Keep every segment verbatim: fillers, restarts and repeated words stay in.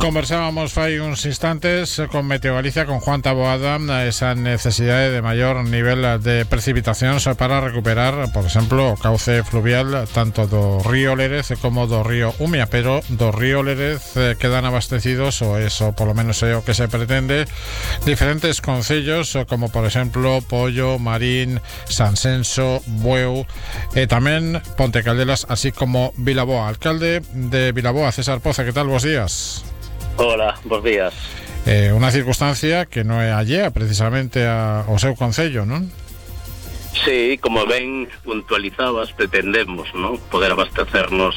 Conversábamos fai uns instantes con Meteo Galicia, con Juan Taboada, esa necesidade de maior nivel de precipitacións para recuperar, por exemplo, o cauce fluvial tanto do río Lérez como do río Umia, pero do río Lérez eh, quedan abastecidos, ou eso polo menos é o que se pretende, diferentes concellos como por exemplo Pollo, Marín, Sansenso, Bueu e tamén Ponte Caldelas, así como Vilaboa. Alcalde de Vilaboa, César Poza, que tal? Bos días. Hola, bos días. Eh, unha circunstancia que non é allea precisamente a, ao seu concello, non? Sí, como ben puntualizabas, pretendemos, ¿no?, poder abastecernos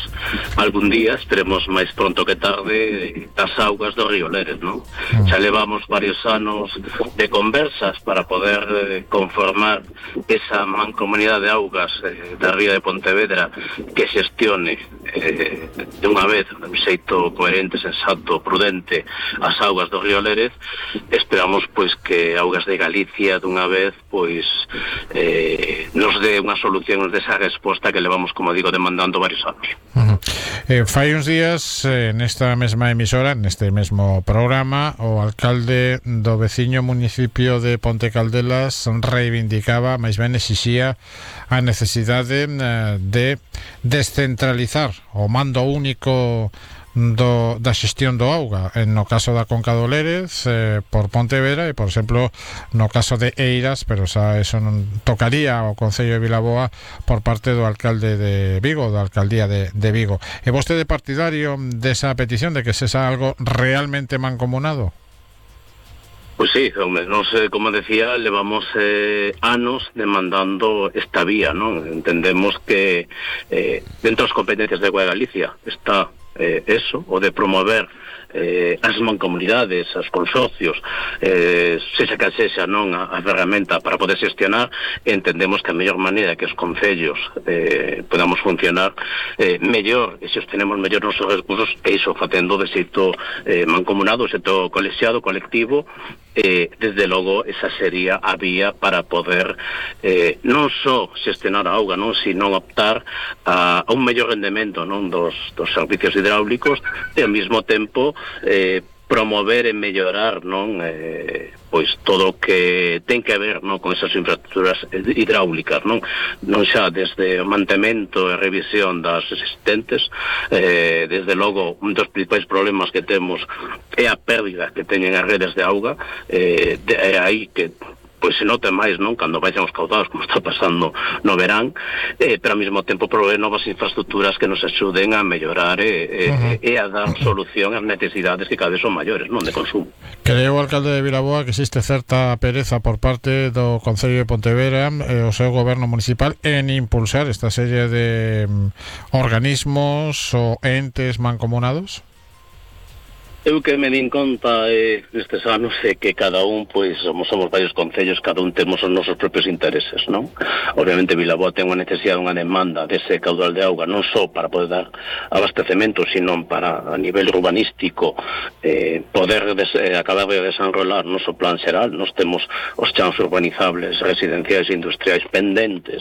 algún día, esperemos máis pronto que tarde, das augas do río Lérez, ¿no? Mm. Xa levamos varios anos de conversas para poder eh, conformar esa mancomunidade de augas eh, da ría de Pontevedra que xestione eh, de unha vez, de un xeito coherente, sensato, prudente, as augas do río Lérez. Esperamos, pois, que Augas de Galicia dunha vez, pois, eh, nos dé unha solución, nos dé esa resposta que levamos, como digo, demandando varios anos. Uh-huh. eh, Fai uns días, eh, nesta mesma emisora, neste mesmo programa, o alcalde do veciño municipio de Ponte Caldelas reivindicaba, máis ben exixía, a necesidade eh, de descentralizar o mando único do, da xestión do auga, en no caso da Conca do Lérez eh, por Pontevedra, e por exemplo no caso de Eiras, pero xa eso non tocaría ao Concello de Vilaboa por parte do alcalde de Vigo, da alcaldía de, de Vigo. E vostede partidario desa petición de que se xa algo realmente mancomunado? Pois sí, hombre, nos, eh, como decía, levamos eh, anos demandando esta vía, ¿no? Entendemos que eh, dentro das competencias de Agua de Galicia está eh, eso, o de promover eh, as mancomunidades, os consorcios, eh, sexa que sexa, non, a, a ferramenta para poder xestionar. Entendemos que a mellor maneira que os concellos eh, podamos funcionar eh, mellor, e se os tenemos mellor nosos recursos, e iso facendo de xeito eh, mancomunado, de xeito colexiado, colectivo. Eh, desde logo esa sería a vía para poder eh, non só xestionar a auga, non, sino optar a, a un mellor rendemento, non, dos, dos servicios hidráulicos, e ao mesmo tempo eh, promover e mellorar, non, eh, pois todo o que ten que ver, non, con esas infraestructuras hidráulicas, non, non xa desde o mantemento e revisión das existentes. Eh, desde logo un dos principais problemas que temos é a pérdida que teñen as redes de auga, eh, de, é aí que pois se nota máis, non, cando vayan os caudados, como está pasando no verán, eh, pero ao mesmo tempo proveer novas infraestructuras que nos axuden a mellorar e, uh-huh. e a dar solución ás necesidades que cada vez son maiores, non, de consumo. Creo, o alcalde de Vilaboa, que existe certa pereza por parte do Concello de Pontevedra e o seu goberno municipal en impulsar esta serie de um, organismos ou entes mancomunados? Eu que me din conta eh, nestes anos é que cada un, pois, somos, somos varios concellos, cada un temos os nosos propios intereses, non? Obviamente Vilaboa ten unha necesidade, unha demanda dese caudal de auga, non só para poder dar abastecemento, sino para a nivel urbanístico eh, poder des, eh, acabar de desenrolar o noso plan xeral. Nos temos os chans urbanizables, residenciais e industriais pendentes